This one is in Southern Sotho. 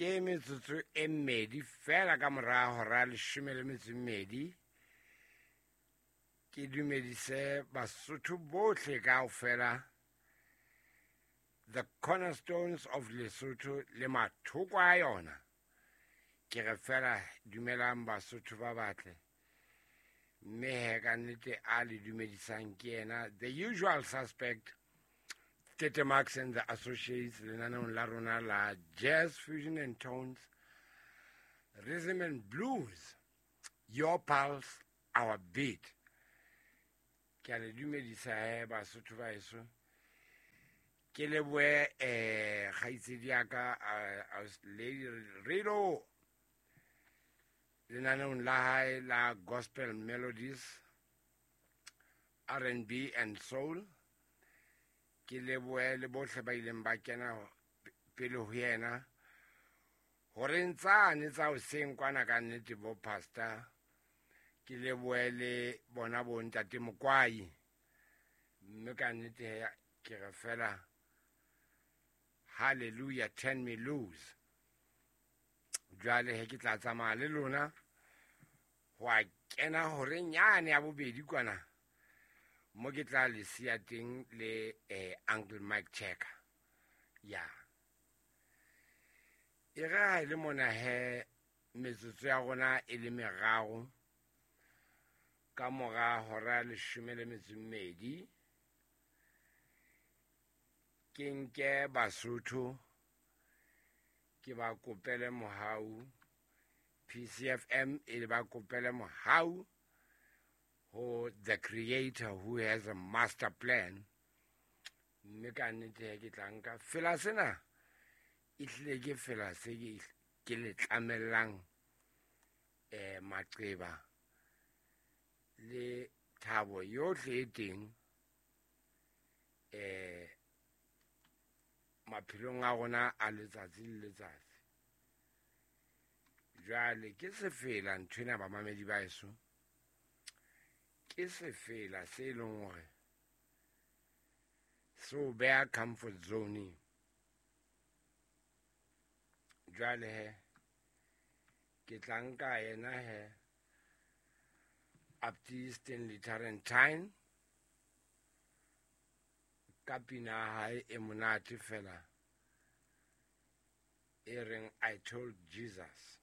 Ke metsotso e mmedi fela ka mora hora ya leshome le metso e mmedi. Ke dumedise Basotho bohle kaofela, the cornerstones of Lesotho le mathoko a yona. Ke re fela dumelang Basotho ba batle. Mme he ka nnete a le dumedisang ke yena the usual suspect, Tete Max and the Associates, lenaneong la rona la Jazz Fusion and Tones, Rhythm and Blues, your pulse, our beat. Ke a le dumedisa he Basotho ba heso. Ke lebohe kgaitsedi ya ka, Lady Rido, lenaneong la hae la Gospel Melodies, R&B and Soul. Ke lebohe le bohle ba ileng ba kena pele ho yena hore ntsane tsa hoseng kwana ka nnete bo pastor. Ke lebohe le bona bo ntate Mokwai, mme ka nnete ke re fela hallelujah, turn me loose. Jwale he ke tla tsamaya le lona ho a kena horeng yane ya bobedi kwana mo ke tla le siya teng le Uncle Mike Checker. Ya e re ha e le mona he metsotso ya rona e le meraro ka mora hora ya leshome le metso e mmedi, ke nke Basotho ke ba kopele mohau, PCFM e ba kopele mohau ho the creator who has a master plan. Mme ka nnete ke tla nka fela sena, e hlile ke fela se ke le tlamellang maqeba le thabo yohle e teng maphelong a rona a letsatsi le letsatsi. Jwale ke sefela nthwena bamamedi ba heso, ke sefela se e leng hore se o beha comfort zone. Jwale he ke tla nka yena he Apti Stanley Tarentine ka pina ya hae e monate fela e reng I Told Jesus.